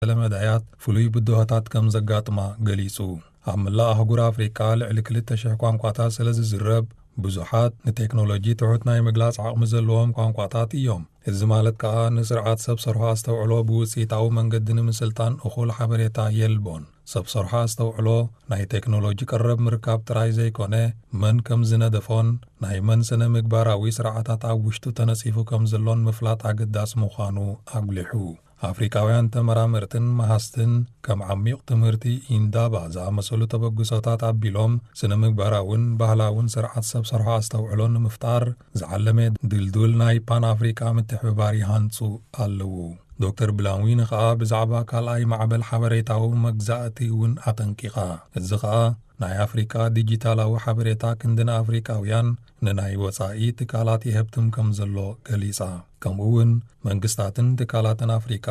ዝኣመሰለ መዳያት ፍሉይ ብድሆታት ከም ዘጋጥማ ገሊጹ። ኣብ መላእ ኣህጉር ኣፍሪቃ ልዕሊ ክልተ ሽሕ ቋንቋታት ስለ ዝዝረብ፣ ብዙሓት ንቴክኖሎጂ ትሑት ናይ ምግላጽ ዓቕሚ ዘለዎም ቋንቋታት እዮም። እዚ ማለት ከኣ ንስርዓት ሰብ ሰርሖ ኣስተውዕሎ ብውጽኢታዊ መንገዲ ንምስልጣን እኹል ሓበሬታ የልቦን። ሰብ ሰርሖ ኣስተውዕሎ ናይ ቴክኖሎጂ ቀረብ ምርካብ ጥራይ ዘይኮነ፣ መን ከም ዝነደፎን ናይ መን ስነ ምግባራዊ ስርዓታት ኣብ ውሽጡ ተነጺፉ ከም ዘሎን ምፍላጥ ኣገዳሲ ምዃኑ ኣጉሊሑ። ኣፍሪቃውያን ተመራመርትን መሃዝትን ከም ዓሚቕ ትምህርቲ ኢንዳባ ዝኣመሰሉ ተበግሶታት ኣቢሎም ስነ ምግባራውን ባህላውን ስርዓት ሰብ ሰርሖ ኣስተውዕሎ ንምፍጣር ዝዓለመ ድልዱል ናይ ፓን ኣፍሪቃ ምትሕብባር ይሃንጹ ኣለዉ። ዶክተር ብላንዊን ኸኣ ብዛዕባ ካልኣይ ማዕበል ሓበሬታዊ መግዛእቲ እውን ኣጠንቂቓ። እዚ ኸኣ ናይ ኣፍሪቃ ዲጂታላዊ ሓበሬታ ክንዲ ንኣፍሪቃውያን ንናይ ወጻኢ ትካላት ይሀብትም ከም ዘሎ ገሊጻ። ከምኡ እውን መንግስታትን ትካላትን ኣፍሪቃ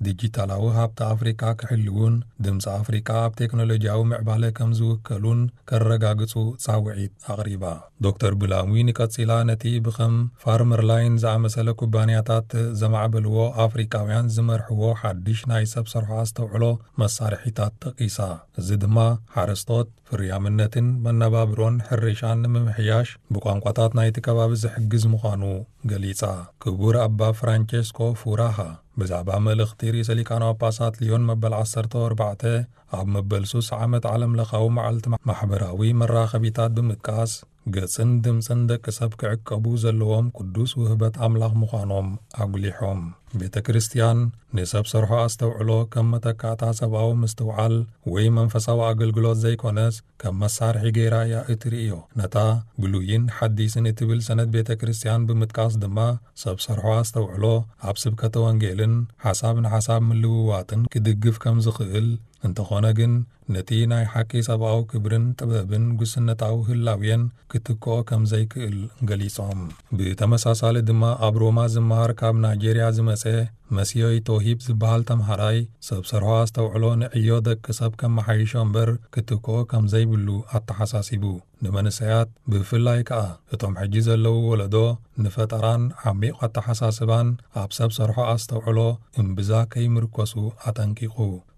ዲጂታላዊ ሃብቲ ኣፍሪቃ ክሕልውን ድምፂ ኣፍሪቃ ኣብ ቴክኖሎጂያዊ ምዕባለ ከም ዝውከሉን ከረጋግጹ ጻውዒት ኣቕሪባ። ዶክተር ብላንዊን ቀጺላ ነቲ ብኸም ፋርመር ላይን ዝኣመሰለ ኩባንያታት ዘማዕበልዎ ኣፍሪቃውያን ዝመርሕዎ ሓድሽ ናይ ሰብ ሰርሖ ኣስተውዕሎ መሳርሒታት ጠቒሳ። እዚ ድማ ሓረስቶት ፍርያምነትን መነባብሮን ሕርሻን ንምምሕያሽ ብቋንቋታት ናይቲ ከባቢ ዝሕግዝ ምዃኑ ገሊጻ። ክቡር ኣባ ፍራንቸስኮ ፉራሃ ብዛዕባ መልእኽቲ ርእሰ ሊቃነ ጳጳሳት ሊዮን መበል ዓሰርተ ኣርባዕተ ኣብ መበል ሱስ ዓመት ዓለም ለኻዊ መዓልቲ ማሕበራዊ መራኸቢታት ብምጥቃስ፣ ገጽን ድምጽን ደቂ ሰብ ክዕቀቡ ዘለዎም ቅዱስ ውህበት ኣምላኽ ምዃኖም ኣጉሊሖም። ቤተ ክርስቲያን ንሰብ ሰርሖ ኣስተውዕሎ ከም መተካእታ ሰብኣዊ ምስትውዓል ወይ መንፈሳዊ ኣገልግሎት ዘይኮነስ፣ ከም መሳርሒ ገይራ እያ እትርእዮ። ነታ ብሉይን ሓዲስን እትብል ሰነድ ቤተ ክርስቲያን ብምጥቃስ ድማ፣ ሰብ ሰርሖ ኣስተውዕሎ ኣብ ስብከተ ወንጌልን ሓሳብ ንሓሳብ ምልውዋጥን ክድግፍ ከም ዝኽእል፣ እንተኾነ ግን ነቲ ናይ ሓቂ ሰብኣዊ ክብርን ጥበብን ጉስነታዊ ህላዌን ክትክኦ ከም ዘይክእል ገሊጾም። ብተመሳሳሊ ድማ ኣብ ሮማ ዝመሃር ካብ ናይጄርያ ዝመጸ መሲዮይ ቶሂብ ዝበሃል ተምሃራይ፣ ሰብ ሰርሖ ኣስተውዕሎ ንዕዮ ደቂ ሰብ ከመሓይሾ እምበር ክትክኦ ከም ዘይብሉ ኣተሓሳሲቡ። ንመንሰያት ብፍላይ ከኣ እቶም ሕጂ ዘለዉ ወለዶ ንፈጠራን ዓሚቕ ኣተሓሳስባን ኣብ ሰብ ሰርሖ ኣስተውዕሎ እምብዛ ከይምርኮሱ ኣጠንቂቑ።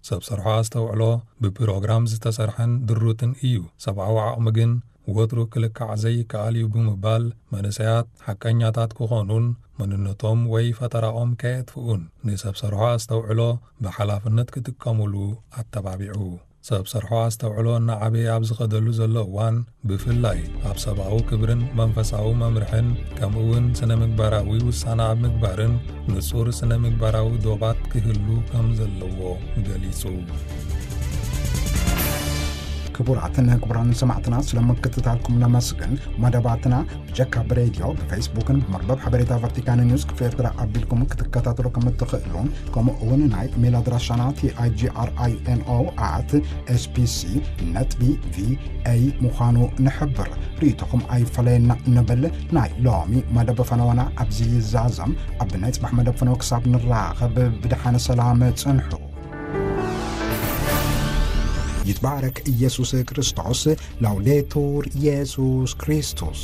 ሰብ ሰርሖ ኣስተውዕሎ ብፕሮግራም ዝተሰርሐን ድሩትን እዩ። ሰብኣዊ ዓቕሚ ግን ወትሩ ክልካዕ ዘይከኣል እዩ ብምባል፣ መንእሰያት ሓቀኛታት ክኾኑን መንነቶም ወይ ፈጠራኦም ከየጥፍኡን ንሰብ ሰርሖ ኣስተውዕሎ ብሓላፍነት ክጥቀሙሉ ኣተባቢዑ። ሰብ ሰርሖ ኣስተውዕሎ እናዓበየ ኣብ ዝኸደሉ ዘሎ እዋን፣ ብፍላይ ኣብ ሰብኣዊ ክብርን መንፈሳዊ መምርሕን፣ ከምኡ እውን ስነ ምግባራዊ ውሳነ ኣብ ምግባርን ንጹር ስነ ምግባራዊ ዶባት ክህሉ ከም ዘለዎ ገሊጹ። ክቡራትን ክቡራን ሰማዕትና፣ ስለ ምክትታልኩም ነመስግን። መደባትና ብጀካ ብሬድዮ፣ ብፌስቡክን ብመርበብ ሓበሬታ ቫቲካን ኒውስ ክፍሊ ኤርትራ ኣቢልኩም ክትከታተሉ ከም እትኽእሉ፣ ከምኡ እውን ናይ ኢሜል ኣድራሻና ቲ ኣይ ጂ ኣር ኣይ ኤን ኦ ኣት ኤስ ቢ ሲ ነጥቢ ቪ ኤ ምዃኑ ንሕብር። ርእይቶኹም ኣይፈለየና ንብል። ናይ ሎሚ መደብ ፈነወና ኣብዚ ይዛዘም። ኣብ ናይ ጽባሕ መደብ ፈነወ ክሳብ ንራኸብ ብደሓነ ሰላም ጽንሑ። ይትባረክ ኢየሱስ ክርስቶስ። ላውዴቱር ኢየሱስ ክርስቶስ።